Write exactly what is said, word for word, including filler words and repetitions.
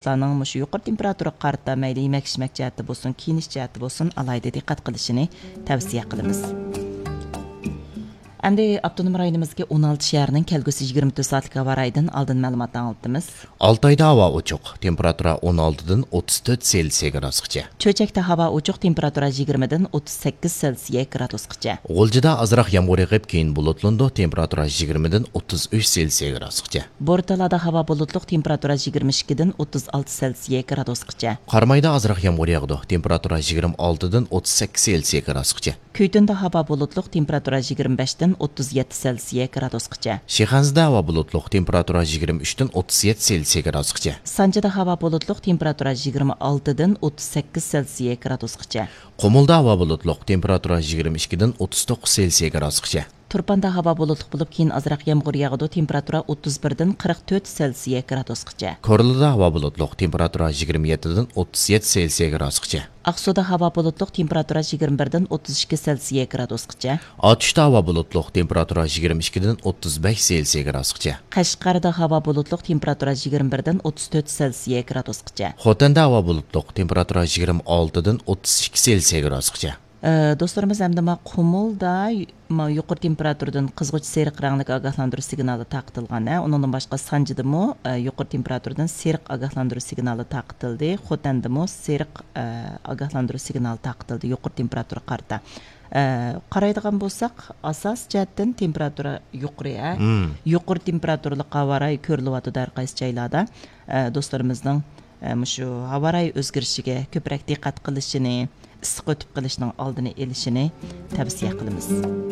ئىنساننىڭ مۇشۇ يۇقىرى تېمپېراتۇرىغا قارىتا مەيلى يېمەك-ئىچمەك جەھەتتە بولسۇن، كىيىنىش جەھەتتە بولسۇن، ئالاھىدە دىققەت قىلىشىنى تەۋسىيە قىلىمىز. ئەمدى ئاپتونوم رايونىمىزدىكى ئون ئالتە شەھەرنىڭ كەلگۈسى يىگىرمە تۆت سائەتلىك ھاۋا رايىدىن ئالدىن مەلۇماتنى ئاڭلىتىمىز. ئالتايدا ھاۋا ئوچۇق، تېمپېراتۇرا ئون ئالتىدىن ئوتتۇز تۆت سېلسىيە گرادۇسقىچە. چۆچەكتە ھاۋا ئوچۇق، تېمپېراتۇرا يىگىرمىدىن ئوتتۇز سەككىز سېلسىيە گرادۇسقىچە. غۇلجىدا ئازراق يامغۇر يېغىپ، كېيىن بۇلۇتلىنىدۇ، تېمپېراتۇرا يىگىرمىدىن ئوتتۇز ئۈچ سېلسىيە گرادۇسقىچە. بورتالادا ھاۋا بۇلۇتلۇق، تېمپېراتۇرا يىگىرمە ئىككىدىن ئوتتۇز ئالتە سېلسىيە گرادۇسقىچە. قارامايدا ئازراق يامغۇر ياغىدۇ، تېمپېراتۇرا يىگىرمە ئالتىدىن ئوتتۇز سەككىز سېلسىيە گرادۇسقىچە. كۈيتۈندە ھاۋا بۇلۇتلۇق، تېمپېراتۇرا يىگىرمە بەشتىن ئوتتۇز يەتتە سېلسىيە گرادۇسقىچە. شىخەنزىدە ھاۋا بۇلۇتلۇق، تېمپېراتۇرا يىگىرمە ئۈچتىن ئوتتۇز يەتتە سېلسىيە گرادۇسقىچە. سانجىدا ھاۋا بۇلۇتلۇق، تېمپېراتۇرا يىگىرمە ئالتىدىن ئوتتۇز سەككىز سېلسىيە گرادۇسقىچە. قۇمۇلدا ھاۋا بۇلۇتلۇق، تېمپېراتۇرا يىگىرمە ئىككىدىن ئوتتۇز توققۇز سېلسىيە گرادۇسقىچە. تۇرپاندا ھاۋا بۇلۇتلۇق بولۇپ، كېيىن ئازراق يامغۇر ياغىدۇ، تېمپېراتۇرا ئوتتۇز بىردىن قىرىق تۆت سېلسىيە گرادۇسقىچە. كورلىدا ھاۋا بۇلۇتلۇق، تېمپېراتۇرا يىگىرمە يەتتىدىن ئوتتۇز يەتتە سېلسىيە گرادۇسقىچە. ئاقسۇدا ھاۋا بۇلۇتلۇق، تېمپېراتۇرا يىگىرمە بىردىن ئوتتۇز ئىككى سېلسىيە گرادۇسقىچە. ئاتۇشتا ھاۋا بۇلۇتلۇق، تېمپېراتۇرا يىگىرمە ئىككىدىن ئوتتۇز بەش سېلسىيە گرادۇسقىچە. قەشقەردە ھاۋا بۇلۇتلۇق، تېمپېراتۇرا يىگىرمە بىردىن ئوتتۇز تۆت سېلسىيە گرادۇسقىچە. خوتەندە ھاۋا بۇلۇتلۇق، تېمپېراتۇرا يىگىرمە ئالتىدىن ئوتتۇز ئىككى سېلسىيە گرادۇسقىچە. ئە، دوستلىرىمىز، ئەمدى ما قۇمۇلدا ما يۇقىرى تېمپېراتۇرىدىن قىزغۇچ سېرىق رەڭلىك ئاگاھلاندۇرۇش سىگنالى تارقىتىلغان، ھە. ئۇنىڭدىن باشقا سانجىدىمۇ، ئە، يۇقىرى تېمپېراتۇرىدىن سېرىق ئاگاھلاندۇرۇش سىگنالى تارقىتىلدى. خوتەندىمۇ سېرىق، ئە، ئاگاھلاندۇرۇش سىگنالى تارقىتىلدى يۇقىرى تېمپېراتۇرىغا قارىتا. ئە، قارايدىغان بولساق، ئاساسىي جەھەتتىن تېمپېراتۇرا يۇقىرى، ھە. مم. يۇقىرى تېمپېراتۇرىلىق ھاۋا رايى كۆرۈلۈۋاتىدۇ ھەر قايسى جايلاردا. ئە، دوستلىرىمىزنىڭ، ئە، مۇشۇ ھاۋا رايى ئۆزگىرىشىگە كۆپرەك دىققەت قىلىشىنى، ئىسسىق ئۆتۈپ قېلىشنىڭ ئالدىنى ئېلىشىنى تەۋسىيە قىلىمىز.